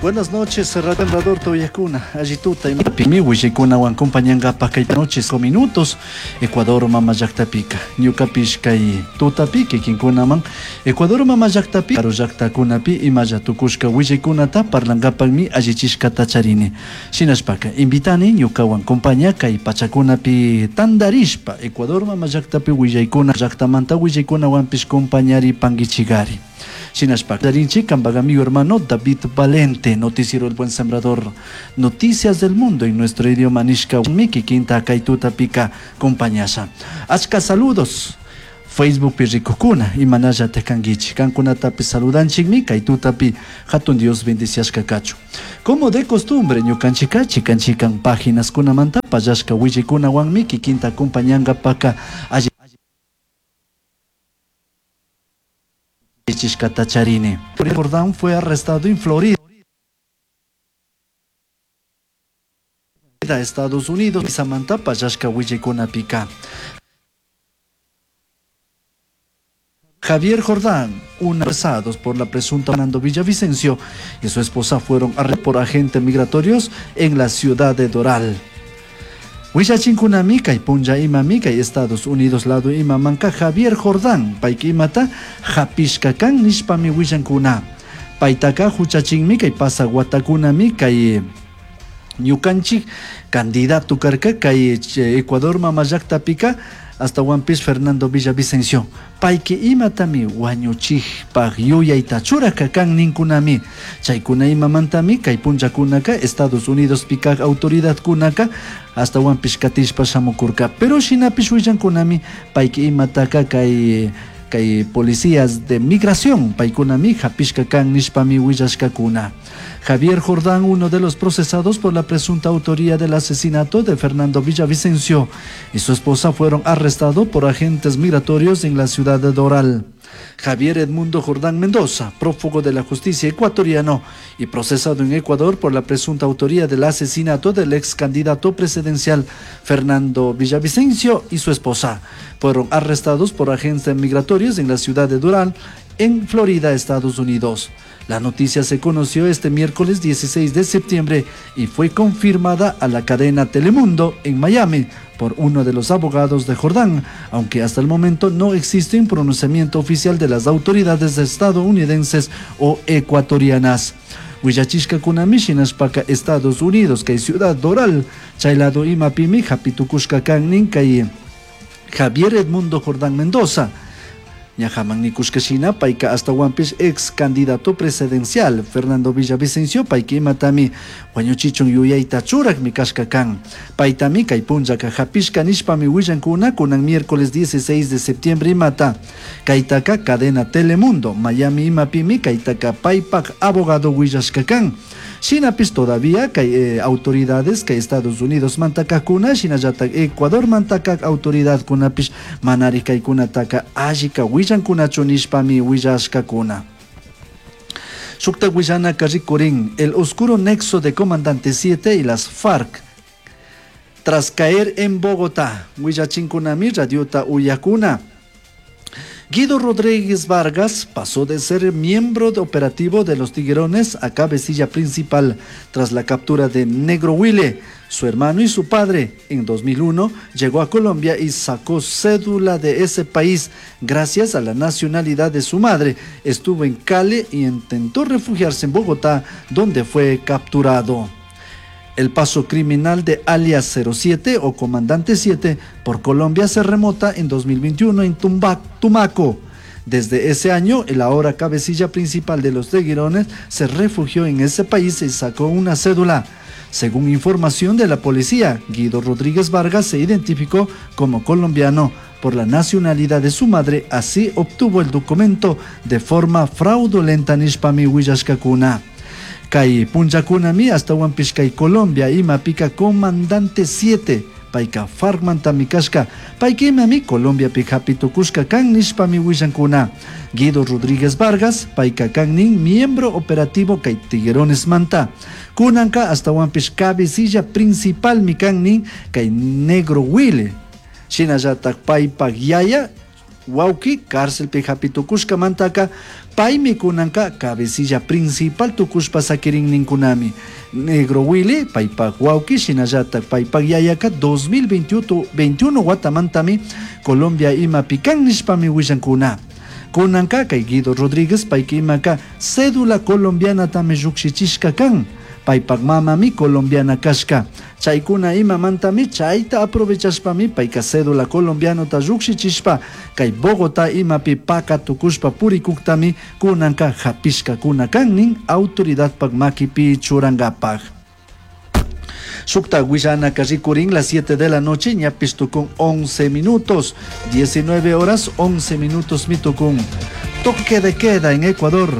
Buenas noches, Sembrador Toyacuna, allituta imapimi willaykunawan compañangapaj kay noches o minutos Ecuador mama llaqtapika. Ñukapish kay tutapi kikinkunaman Ecuador mama llaqtapi karu llaqtakunapi imalla tukushka willaykunata parlangapakmi allichishkata charini. Shinashpaka invitani ñukawan compaña kay pachakunapi tandarishpa Ecuador mama llaqtapi willaykuna llaqtamanta willaykunawanpish compañaripankichikari. Shinashpa charinchik kanpak amigo hermano David Valente, Noticiero El Buen Sembrador, Noticias del Mundo en nuestro idioma nishka kikinta kay tutapika compañasha. Achka saludos. Facebookpi rikukuna imanallataj kankichik kankunatapish saludanchikmi kay tutapi hatun Dios bendiciashka kachun. Como de costumbre ñukanchikka chikan chikan páginaskunamanta pallashka willaykunawanmi kikinta acompañankapaka allichishkata charini. Jordán fue arrestado en Florida, Estados Unidos, Samantha pallashka willaykunapika. Javier Jordán, un arrestados por la presunta Fernando Villavicencio y su esposa fueron arrestados por agentes migratorios en la ciudad de Doral. Willachinkunami kay punlla imami kay Estados Unidos lado imamanka Javier Jordán payka imata hapishka kan nishpami willankuna. Paytaka huchachinmi kay pasaq watakunami kay ñukanchik candidato karka kay Ecuador mama llaqtapika astawanpish Fernando Villavicencio. Payki imatami wañuchikpaj yuyayta churaka kan ninkunami. Chaykuna imamantami kay punllakunaka Estados Unidos pikaj autoridadkunaka astawanpish katishpa shamukurka. Pero shinapish willankunami payki imataka kay policías de migración paykunami hapishka kan nishpami willashkakuna. Javier Jordán, uno de los procesados por la presunta autoría del asesinato de Fernando Villavicencio y su esposa fueron arrestados por agentes migratorios en la ciudad de Doral. Javier Edmundo Jordán Mendoza, prófugo de la justicia ecuatoriano y procesado en Ecuador por la presunta autoría del asesinato del ex candidato presidencial Fernando Villavicencio y su esposa, fueron arrestados por agentes migratorios en la ciudad de Doral, en Florida, Estados Unidos. La noticia se conoció este miércoles 16 de septiembre y fue confirmada a la cadena Telemundo en Miami por uno de los abogados de Jordán, aunque hasta el momento no existe un pronunciamiento oficial de las autoridades estadounidenses o ecuatorianas. Willachishkakunami shinashpaka Estados Unidos kay Ciudad Doral, chay lado imapimi hapitukushka kan nin kay Javier Edmundo Jordán Mendoza. Ñajaman nikushka shina payka astawanpish ex candidato presidencial Fernando Villavicencio payka imatami wañuchichun yuyayta churakmi kashka kan. Paytami kay punllaka hapishka nishpami willankuna kunan miércoles 16 de septiembre imata. Kaytaka cadena Telemundo Miami imapimi kaytaka paypak abogado willashka kan. Shinapish todavía kay autoridades kay Estados Unidos mantakakuna shinallatak Ecuador mantakak autoridadkunapish manari kaykunataka allika willankunachu nishpami willashkakuna. Shukta willanaka rikurin el oscuro nexo de Comandante 7 y las FARC tras caer en Bogotá. Willachinkunami radiota uyakuna. Guido Rodríguez Vargas pasó de ser miembro de operativo de los Tiguerones a cabecilla principal tras la captura de Negro Wille, su hermano y su padre. En 2001 llegó a Colombia y sacó cédula de ese país gracias a la nacionalidad de su madre. Estuvo en Cali y intentó refugiarse en Bogotá, donde fue capturado. El paso criminal de alias 07 o Comandante 7 por Colombia se remota en 2021 en Tumaco. Desde ese año, el ahora cabecilla principal de los Tiguerones se refugió en ese país y sacó una cédula. Según información de la policía, Guido Rodríguez Vargas se identificó como colombiano por la nacionalidad de su madre, así obtuvo el documento de forma fraudulenta nishpami willashkakuna. Kay punllakunami astawanpish kay Colombia imapika Comandante 7 payka FARC-mantami kashka payka imami Colombiapi hapitukushka kan nishpami willankuna. Guido Rodríguez Vargas payka kan nin miembro operativo kay Tiguerones manta. Kunanka astawanpish cabecilla principalmi kan nin kay Negro Wille. Shinallatak paypak yaya wawki cárcelpi hapitukushkamantaka Paymi kunanka cabecilla principal tukushpa sakirin ninkunami. Negro Willy, paypak wawki, shinallatak paypak yayaka 2021 watamantami Colombia imapi kan nishpami willankuna. Kunanka kay Guido Rodríguez payka imaka cédula colombianatami llukshichishka kan. Paypak mamami colombiana kashka. Chaykuna imamantami chayta aprovechashpami payka cédula colombianota llukshichishpa kay Bogotá imapi paka tukushpa purikuktami kunanka hapishkakuna kan nin autoridadpak makipi churankapak. Shukta willanaka rikurin las 7 de la noche ñapish tukun 11 minutos, 19 horas 11 minutos mitukun. Toque de queda en Ecuador,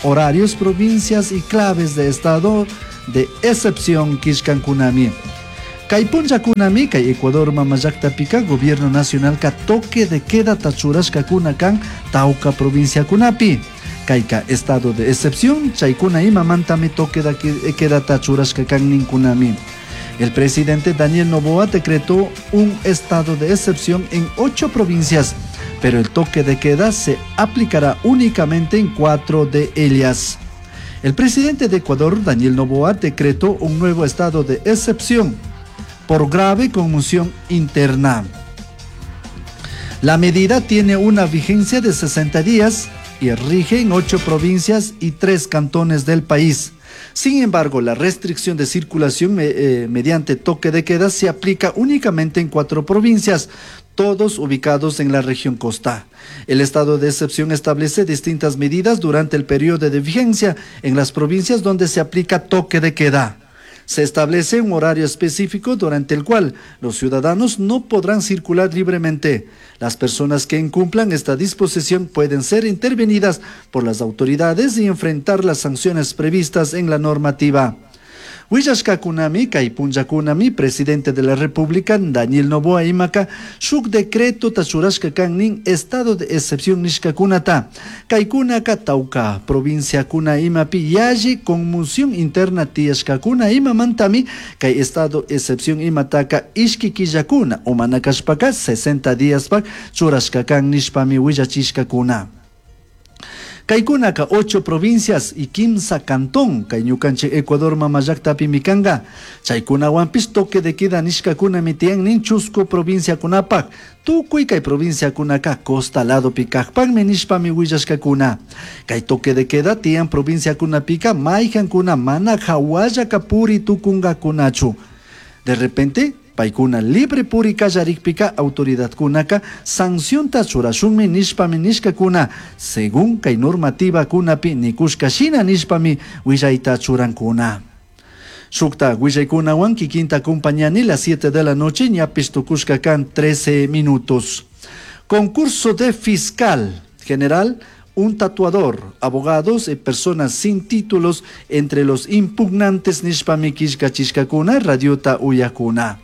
horarios, provincias y claves de estado de excepción kishkankunami. Kay punllakunami kay Ecuador mamallaktapica Gobierno Nacional ka toque de queda tachurashkakuna kan tawka provinciakunapi. Kayka estado de excepción chaykuna imamantami toque de queda tachurashka kan ninkunami. El presidente Daniel Noboa decretó un estado de excepción en 8 provincias, pero el toque de queda se aplicará únicamente en 4 de ellas. El presidente de Ecuador, Daniel Noboa, decretó un nuevo estado de excepción por grave conmoción interna. La medida tiene una vigencia de 60 días y rige en 8 provincias y 3 cantones del país. Sin embargo, la restricción de circulación mediante toque de queda se aplica únicamente en 4 provincias, todos ubicados en la región costa. El estado de excepción establece distintas medidas durante el periodo de vigencia en las provincias donde se aplica toque de queda. Se establece un horario específico durante el cual los ciudadanos no podrán circular libremente. Las personas que incumplan esta disposición pueden ser intervenidas por las autoridades y enfrentar las sanciones previstas en la normativa. Willashkakunami kay punllakunami presidente de la República Daniel Noboa imaka shuk decreto tachurashka kan nin estado de excepción nishkakunata. Kaykunaka tawka provinciakuna imapi yalli conmoción interna tiyashkakuna imamantami kay estado excepción imataka ishki killakuna umana kashpaka 60 días pak churashka kan nishpami willachishkakuna. Kaykunaka 8 provincias y 15 cantón kay ñukanchik Ecuador mamallaktapi mikanga. Chaykunawanpish toque de queda nishkakunami tiyan nin chusku provinciakunapak. Tukuy kay provinciakunaka costa ladopi kajpakmi nishpami willashkakuna. Kay toque de queda tiyan provinciakunapika mayhankuna mana hawallaka puri tukungakunachu. De repente paykuna libre puri kallarikpika autoridadkunaka sancionta churashunmi nishpami nishkakuna según kay normativa kunapi nikushka shina nishpami willayta churankuna. Shukta willaykunawan kikinta acompañani las 7 de la noche ñapish tukushka kan 13 minutos. Concurso de fiscal general, un tatuador, abogados y personas sin títulos entre los impugnantes nishpami kishkachishkakuna radiota uyakuna.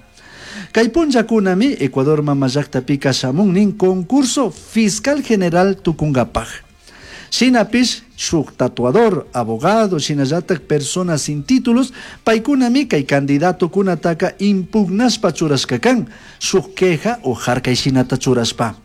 Kay punllakunami Ecuador mamallaktapi shamun nin concurso fiscal general tukunkapaj. Shinapish shuk tatuador, abogado, shinallatak personas sin títulos, paykunami kay candidato kunataka impugnashpa churashka kan, shuk queja o harkay shinata churashpa.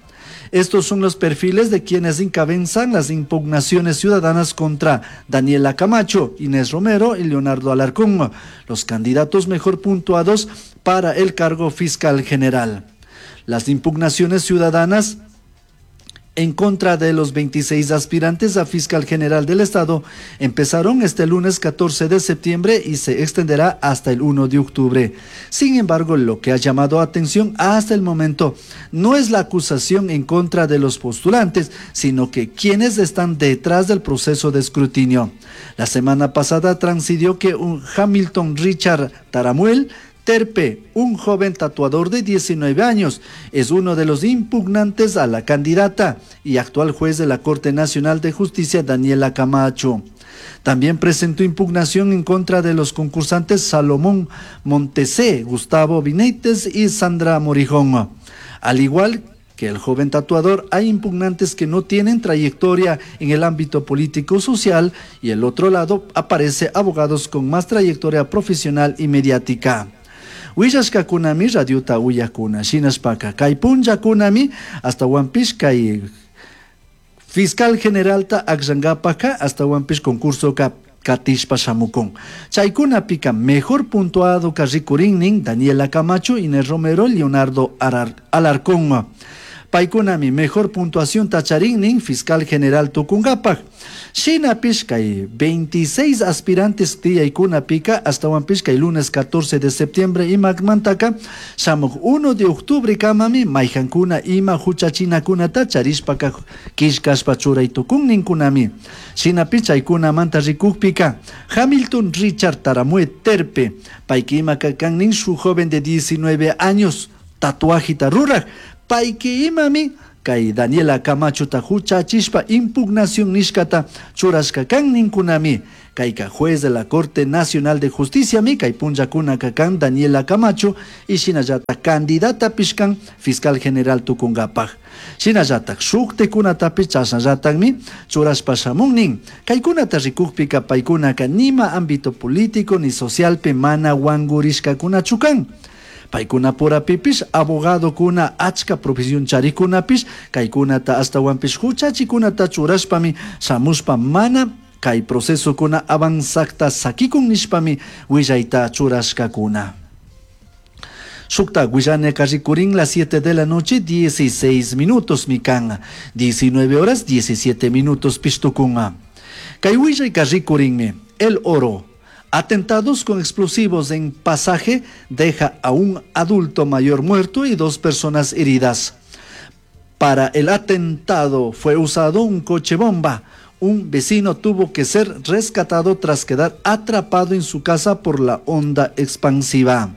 Estos son los perfiles de quienes encabezan las impugnaciones ciudadanas contra Daniela Camacho, Inés Romero y Leonardo Alarcón, los candidatos mejor puntuados para el cargo fiscal general. Las impugnaciones ciudadanas en contra de los 26 aspirantes a fiscal general del Estado empezaron este lunes 14 de septiembre y se extenderá hasta el 1 de octubre. Sin embargo, lo que ha llamado atención hasta el momento no es la acusación en contra de los postulantes, sino que quienes están detrás del proceso de escrutinio. La semana pasada trascendió que un Hamilton Richard Taramuel Terpe, un joven tatuador de 19 años, es uno de los impugnantes a la candidata y actual juez de la Corte Nacional de Justicia, Daniela Camacho. También presentó impugnación en contra de los concursantes Salomón Montesé, Gustavo Vineites y Sandra Morijón. Al igual que el joven tatuador, hay impugnantes que no tienen trayectoria en el ámbito político social y el otro lado aparece abogados con más trayectoria profesional y mediática. Willashkakunami radiota uyakuna, shinashpaka kay punllakunami hasta Huampishka y Fiscal generalta akllankapaka ashtawanpish concursoka katishpa shamukun. Chaykunapika mejor puntuadoka rikurinnin Daniela Camacho, Inés Romero, Leonardo Alarcón. Paykunami mejor puntuación charinnin fiscal general tukunkapak. Shinapish kay 26 aspirantes tiyaykunapika ashtawanpish kay lunes 14 de septiembre imamantaka shamuk 1 de octubre kamami mayhankuna ima huchachinakunata charishpaka killkashpa churay tukunninkunami. Shinapish chaykunamanta rikukpika Hamilton Richard Taramue Terpe, payka imaka kannin shuk joven de 19 años tatuajita rurak, payki imami kay Daniela Camachota huchachishpa impugnación nishkata churashka kan ninkunami. Kayka juez de la Corte Nacional de Justicia mi kay punllakunaka kan Daniela Camacho y shinallatak candidata pishkan fiscal general tukunkapak. Shinallatak shuktikunatapish chashnallatakmi churashpa shamunnin. Kaykunata rikukpika paykunaka nima ámbito político ni socialpi mana wankurishkakunachu kan. Paykunapurapipish abogadokuna achka profesión charikunapish kaykunata ashtawanpish huchachikunata churashpami shamushpa mana kay procesokuna avanzakta sakikun nishpami willayta churashkakuna. Shukta willaneka rikurin las 7 de la noche 16 minutos mikan, 19 horas 17 minutos pishtukunga. Kay willayka rikurinmi El Oro. Atentados con explosivos en Pasaje deja a un adulto mayor muerto y 2 personas heridas. Para el atentado fue usado un coche bomba. Un vecino tuvo que ser rescatado tras quedar atrapado en su casa por la onda expansiva.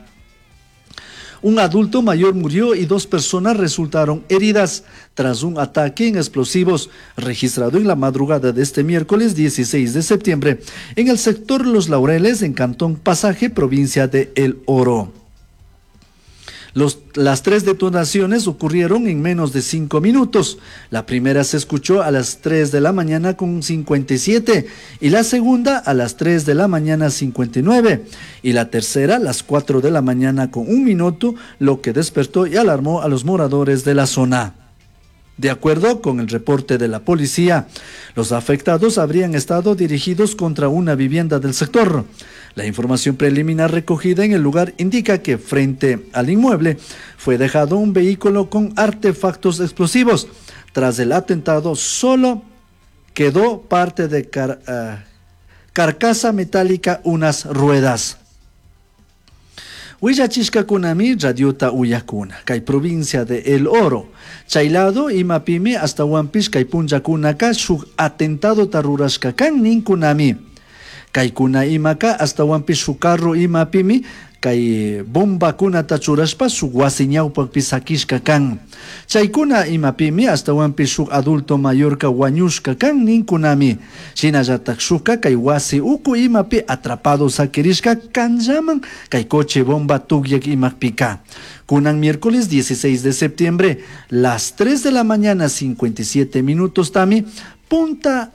Un adulto mayor murió y 2 personas resultaron heridas tras un ataque en explosivos registrado en la madrugada de este miércoles 16 de septiembre en el sector Los Laureles, en Cantón Pasaje, provincia de El Oro. Las 3 detonaciones ocurrieron en menos de 5 minutos. La primera se escuchó a las 3 de la mañana con 57 y la segunda a las 3 de la mañana 59 y la tercera a las 4 de la mañana con 1 minuto, lo que despertó y alarmó a los moradores de la zona. De acuerdo con el reporte de la policía, los afectados habrían estado dirigidos contra una vivienda del sector. La información preliminar recogida en el lugar indica que frente al inmueble fue dejado un vehículo con artefactos explosivos. Tras el atentado, solo quedó parte de carcasa metálica, unas ruedas. Willachishkakunami radiota uyakuna, kay provincia de El Oro. Chaylado imapimi hasta huampish kay punllakunaka shuk atentado tarurashka kan ninkunami. Kaykuna imaka hasta huampish shuk carro imapimi kay bombakunata churashpa shuk wasi ñawpakpi sakishka kan. Chaykuna imapimi ashtawanpish shuk adulto mayorka wañushka kan ninkunami. Shinallatak shukka kay wasi uku imapi atrapado sakirishka kanllaman kay coche bomba tukyak imapika. Kunan miércoles 16 de septiembre, las 3 de la mañana 57 minutos tami, punta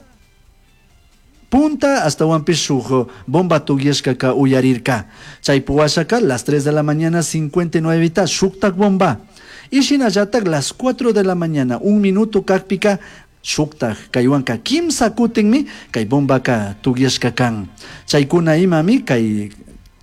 punta hasta shuk bomba tugyashka ka uyarirka. Chaypuwashaka las 3 de la mañana 59 ta shuktak bomba. Y shinallatak las 4 de la mañana 1 minuto kakpika shuktak kaywanka kimsa kutinmi kay bombaka tugyashka kan. Chaykuna imami kay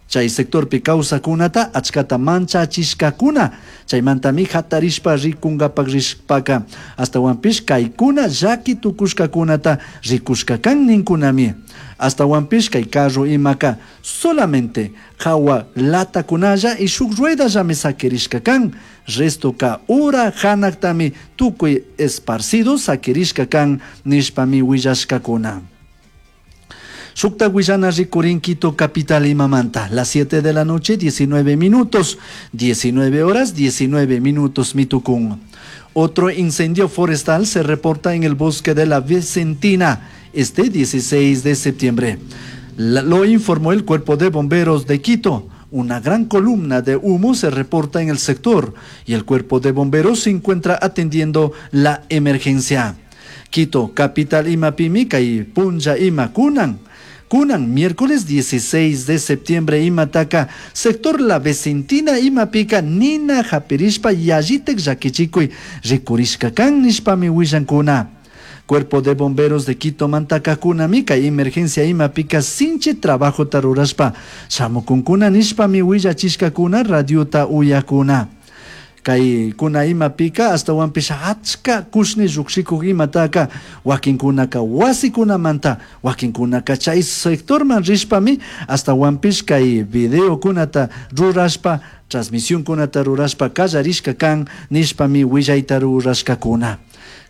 chay sectorpi kawsakunata achkata manchachishkakuna. Chaymantami hatarishpa rikunkapak rishpaka ashtawanpish kaykuna llaki tukushkakunata rikushka kan ninkunami. Ashtawanpish kay carro imaka solamente hawa latakunalla y shuk ruedallami sakirishka kan. Restoka ura hanaktami tukuy esparcido sakirishka kan nishpami willashkakuna. Shukta willana rikurin Quito capital imamanta, las 7 de la noche, 19 minutos, 19 horas, 19 minutos mitukun. Otro incendio forestal se reporta en el bosque de la Vicentina este 16 de septiembre. Lo informó el Cuerpo de Bomberos de Quito. Una gran columna de humo se reporta en el sector y el Cuerpo de Bomberos se encuentra atendiendo la emergencia. Quito, capital imapimi, kay punlla ima kunan. Kunan, miércoles 16 de septiembre, imataka, sector La Vicentina, imapika, nina japirishpa, yayitek llakichikuy, rikurishka kan nishpami willankuna. Cuerpo de Bomberos de Quito mantakakunami kay emergencia imapika sinchi trabajota rurashpa shamukunkuna nishpami willachishkakuna radiota uyakuna. Kay kuna imapika astawanpish achka kushni llukshikuk imataka wakinkunaka wasikunamanta, wakinkunaka chay sectorman rishpami astawanpish kay videokunata rurashpa, transmisionkunata rurashpa kallarishka kan nishpami willayta rurashkakuna.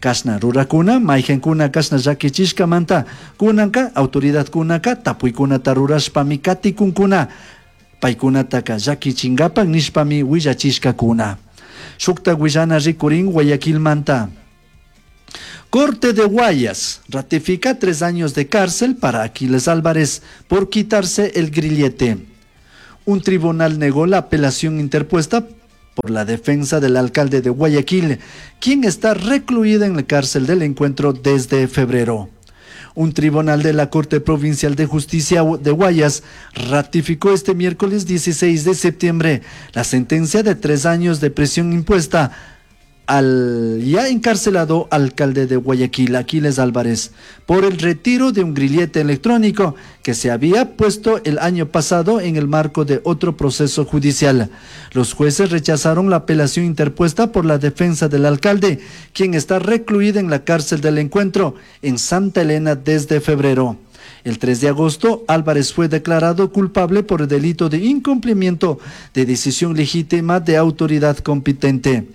Kashna rurakuna, mayqankuna kashna llakichishkamanta kunanka autoridadkunaka tapuykunata rurashpami katikunkuna, paykunataka llakichinkapak nishpami willachishkakuna. Shukta willana rikurin Guayaquilmanta. Corte de Guayas ratifica 3 años de cárcel para Aquiles Álvarez por quitarse el grillete. Un tribunal negó la apelación interpuesta por la defensa del alcalde de Guayaquil, quien está recluida en la cárcel del Encuentro desde febrero. Un tribunal de la Corte Provincial de Justicia de Guayas ratificó este miércoles 16 de septiembre la sentencia de 3 años de prisión impuesta al ya encarcelado alcalde de Guayaquil, Aquiles Álvarez, por el retiro de un grillete electrónico que se había puesto el año pasado en el marco de otro proceso judicial. Los jueces rechazaron la apelación interpuesta por la defensa del alcalde, quien está recluida en la cárcel del Encuentro en Santa Elena desde febrero. El 3 de agosto, Álvarez fue declarado culpable por el delito de incumplimiento de decisión legítima de autoridad competente.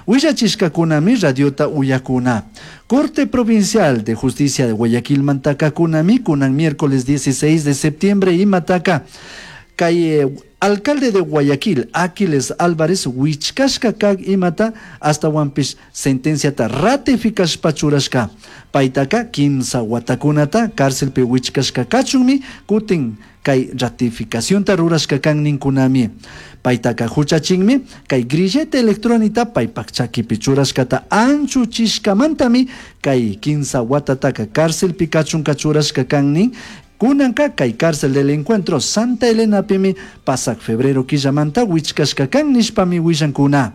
Willachishkakunami radiota uyakuna. Corte Provincial de Justicia de Guayaquil Mantakakunami, kunan miércoles 16 de septiembre y Mataca. Calle alcalde de Guayaquil, Aquiles Álvarez, wichkashka kag imata hasta wampis sentenciata ratificashpa churashka. Paitaka kimsa watakunata cárcelpi wichkashka kachunmi kutin kay ratificacionta rurashka kan ninkunami. Paitaka huchachinmi kay grillete electrónica paypak chakipi churashkata anchuchishkamantami kay kimsa watataka cárcelpi kachunka churashka kan nin. Kunanka kay cárcel del Encuentro Santa Elena pimi pasak febrero quillamanta wichkashka kan nishpami willankuna.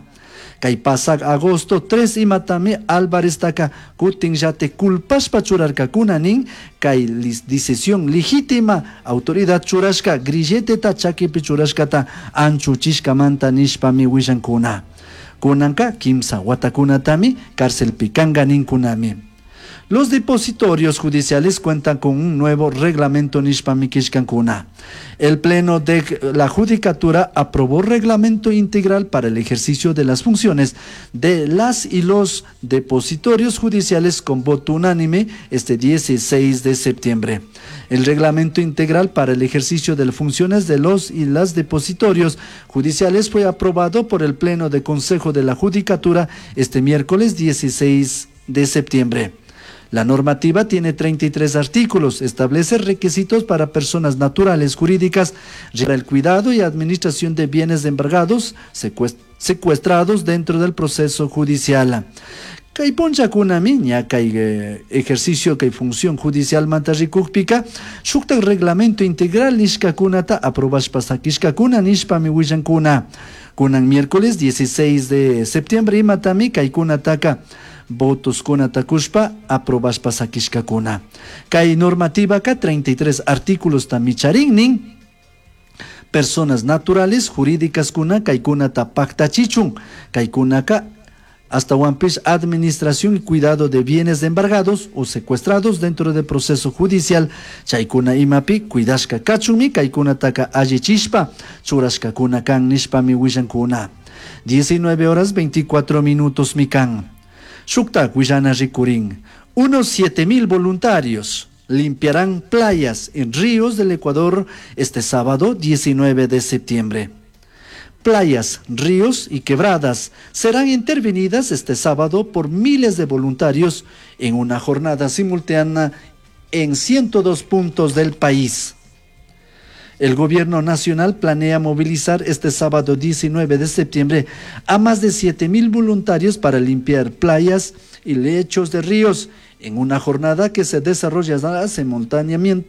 Kay pasak agosto 3 imatami Álvarez taka kutin yate culpashpa churarkakuna nin kay decisión legítima autoridad churashka grilleteta chakipi churashkata anchuchishkamanta nishpami willankuna. Kunanka kimsa watakunatami cárcel pikanga ninkunami. Los depositorios judiciales cuentan con un nuevo reglamento nishpamikishkankuna. El Pleno de la Judicatura aprobó reglamento integral para el ejercicio de las funciones de las y los depositorios judiciales con voto unánime este 16 de septiembre. El reglamento integral para el ejercicio de las funciones de los y las depositorios judiciales fue aprobado por el Pleno de Consejo de la Judicatura este miércoles 16 de septiembre. La normativa tiene 33 artículos, establece requisitos para personas naturales jurídicas, para el cuidado y administración de bienes embargados, secuestrados dentro del proceso judicial. Kay punchakunami ña kay ejercicio kay función judicial manta rikukpika shuktak reglamento integral nishkakunata aprobashpa sakishkakuna nishpami willankuna. Kunan miércoles 16 de septiembre imatami kaykunataka votos kunata kushpa aprobashpa sakishkakuna. Kay normativa ka 33 artículos tamicharinnin personas naturales jurídicas kuna kaykunata paktachichun kaykunaka hasta wampis administración y cuidado de bienes embargados o secuestrados dentro del proceso judicial chaykuna imapi cuidashka kachunmi kaykunataka allichishpa churashkakuna kan nishpami willankuna. 19 horas 24 minutos mikan. Shuktak willana rikurin. Unos 7,000 voluntarios limpiarán playas en ríos del Ecuador este sábado 19 de septiembre. Playas, ríos y quebradas serán intervenidas este sábado por miles de voluntarios en una jornada simultánea en 102 puntos del país. El gobierno nacional planea movilizar este sábado 19 de septiembre a más de 7,000 voluntarios para limpiar playas y lechos de ríos en una jornada que se desarrollará simultáneamente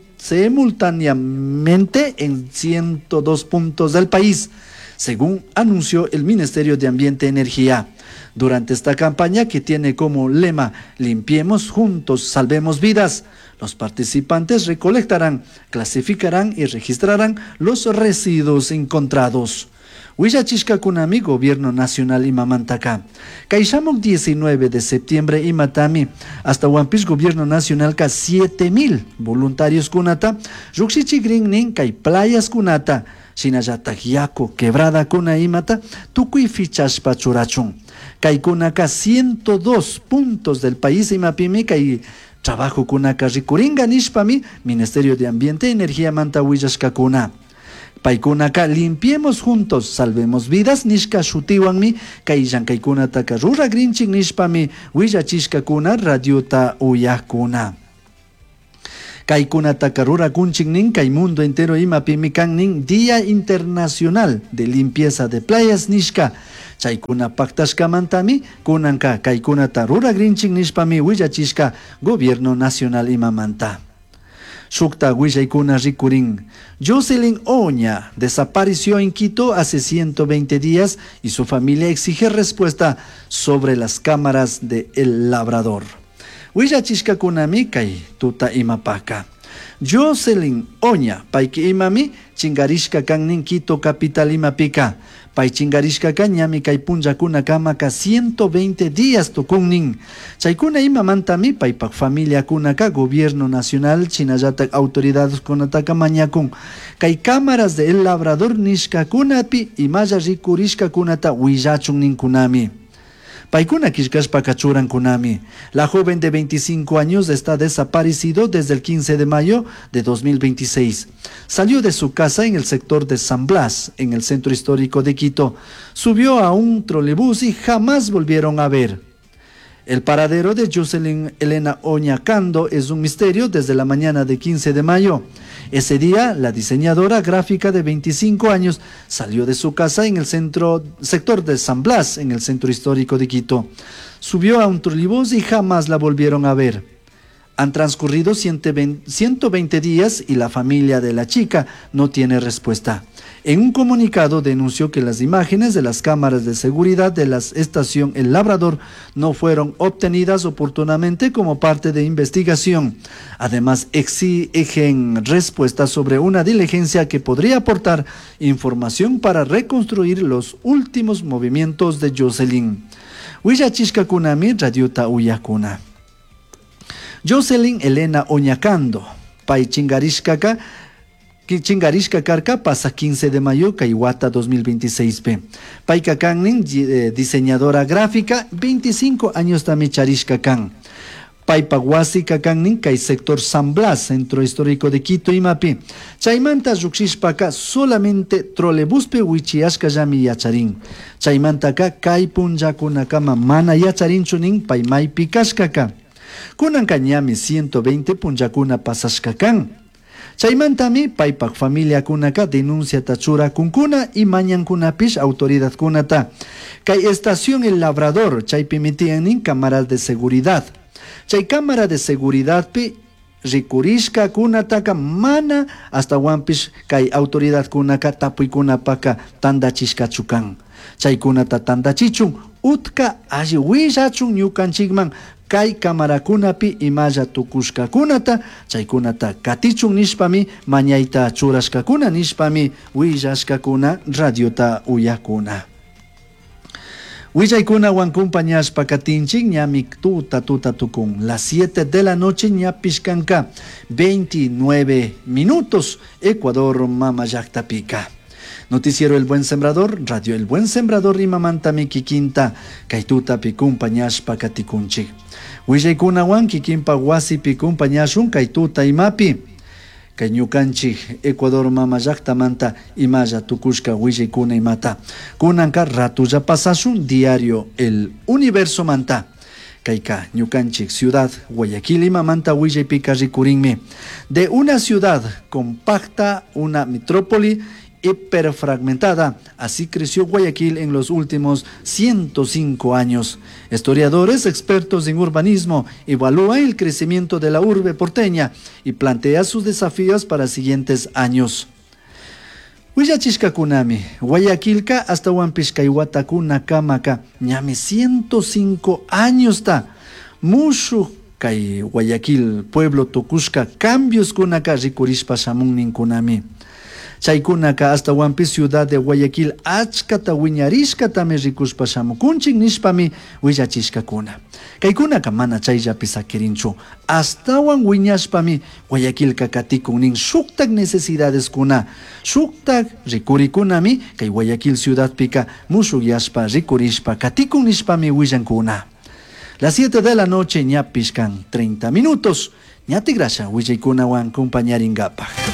en 102 puntos del país. según anunció el Ministerio de Ambiente y Energía. Durante esta campaña, que tiene como lema Limpiemos juntos, salvemos vidas, los participantes recolectarán, clasificarán y registrarán los residuos encontrados. Willachishkakunami Gobierno Nacional imamantaka. Kay shamuk 19 de septiembre imatami ashtahuanpish Gobierno Nacionalka 7000 voluntarios kunata llujshichigrin kay playas kunata shinallatak yaku quebradakuna imata tukuy fichashpa churachun. Kaykunaka 102 puntos del país imapimi kay trabajo kunaka rikuringa nishpami Ministerio de Ambiente y Energía manta willashkakuna. Paykunaka limpiemos juntos, salvemos vidas nishka shutiwanmi kay llankaykunataka ruragrinchik nishpami willachishkakuna radiota uyakuna. Kaykunataka rurakunchik nin kay mundo entero imapimi kan nin Día Internacional de Limpieza de Playas nishka. Chaykuna paktashkamantami kunanka kaykunata ruragrinchik nishpami willachishka Gobierno Nacional imamanta. Shukta willaykuna rikurin. Jocelyn Oña desapareció en Quito hace 120 días y su familia exige respuesta sobre las cámaras de El Labrador. Willachishkakunami kay tuta imapaka. Jocelyn Oña, payki imami, chingarishka kannin Quito capital imapika. Pay chingarishkaka ñami kay punllakunaka 120 días tukunnin. Chaykuna imamantami paypak familiakunaka gobierno nacional shinallatak autoridades kunataka mañakun. Kay cámaras de El Labrador nishkakunapi imalla rikurishkakunata willachun ninkunami. Paykuna killkashpaka churankunami. La joven de 25 años está desaparecido desde el 15 de mayo de 2026. Salió de su casa en el sector de San Blas, en el centro histórico de Quito. Subió a un trolebús y jamás volvieron a ver. El paradero de Jocelyn Elena Oñacando es un misterio desde la mañana de 15 de mayo. Ese día, la diseñadora gráfica de 25 años salió de su casa en el centro, sector de San Blas, en el centro histórico de Quito. Subió a un trolebús y jamás la volvieron a ver. Han transcurrido 120 días y la familia de la chica no tiene respuesta. En un comunicado denunció que las imágenes de las cámaras de seguridad de la estación El Labrador no fueron obtenidas oportunamente como parte de investigación. Además, exigen respuestas sobre una diligencia que podría aportar información para reconstruir los últimos movimientos de Jocelyn. Willachishkakunami radiota uyakuna. Jocelyn Elena Oñacando, pay chingarishkaka chingarishka karka pasa 15 de mayo kay wata 2026 p. Payka kannin diseñadora gráfica 25 años tami charishka kan. Paypa wasika kannin kay sector San Blas, centro histórico de Quito imapi. Chaymanta llukshishpaka solamente trolebuspi wichiyashkallami yacharin. Chaymantaka kay punllakunakama mana yacharinchu nin pay maypi kashkaka. Kunanka ñami 120 punllakuna pasashka kan. Chaymantami paypak familiakunaka denunciata churakunkuna y mañankunapish autoridadkunata. Kay estación El Labrador, chaypimi tiyan cámaras de seguridad. Chay cámara de seguridad pi rikurishkakunataka mana ashtahuanpish kay autoridadkunaka tapuykunapaka tandachishkachu kan. Chaykunata tandachichun utka alli willachun ñukanchikman kay camarakunapi imalla tukushkakunata chaykunata katichun nishpami mañayta churashkakuna nishpami willashkakuna radiota uyakuna. Willaykunawan compañashpa katinchik ñami tuta tuta tukun. Las 7 de la noche ñapish kanka 29 minutos Ecuador mama llaktapika. Noticiero El Buen Sembrador, Radio El Buen Sembrador imamantami kikinta kay tutapi kumpañashpa katikunchik. Willaykunawan kikinpa wasipi kumpañashun kay tuta imapi. Kay ñukanchik Ecuador mama llaktamanta imalla tukushka willaykuna imata. Kunanka ratulla pasashun diario El Universo manta. Kayka ñukanchik ciudad Guayaquil imamanta willaypika rikurinmi. De una ciudad compacta, una metrópoli hiperfragmentada. Así creció Guayaquil en los últimos 105 años. Historiadores expertos en urbanismo evalúan el crecimiento de la urbe porteña y plantea sus desafíos para siguientes años. Willachishkakunami, Guayaquilka ashtahuanpish kay watakunakamaka ñami 105 añosta mushuj kay Guayaquil pueblo tukushka cambioskunaka rikurishpa shamun ninkunami. Chaykunaka ashtahuanpish ciudad de Guayaquil achkata wiñarishkatami rikushpa shamukunchik nishpami willachishkakuna. Kaykunaka mana chayllapi sakirinchu. Ashtawan wiñashpami Guayaquilka katikun nin shuktak necesidadeskuna, shuktak rikurikunami kay Guayaquil ciudadpika mushukyashpa rikurishpa katikun nishpami willankuna. Las 7 de la noche ñapish kan 30 minutos. Ña tigrasha willaykunawan compañaringapaj.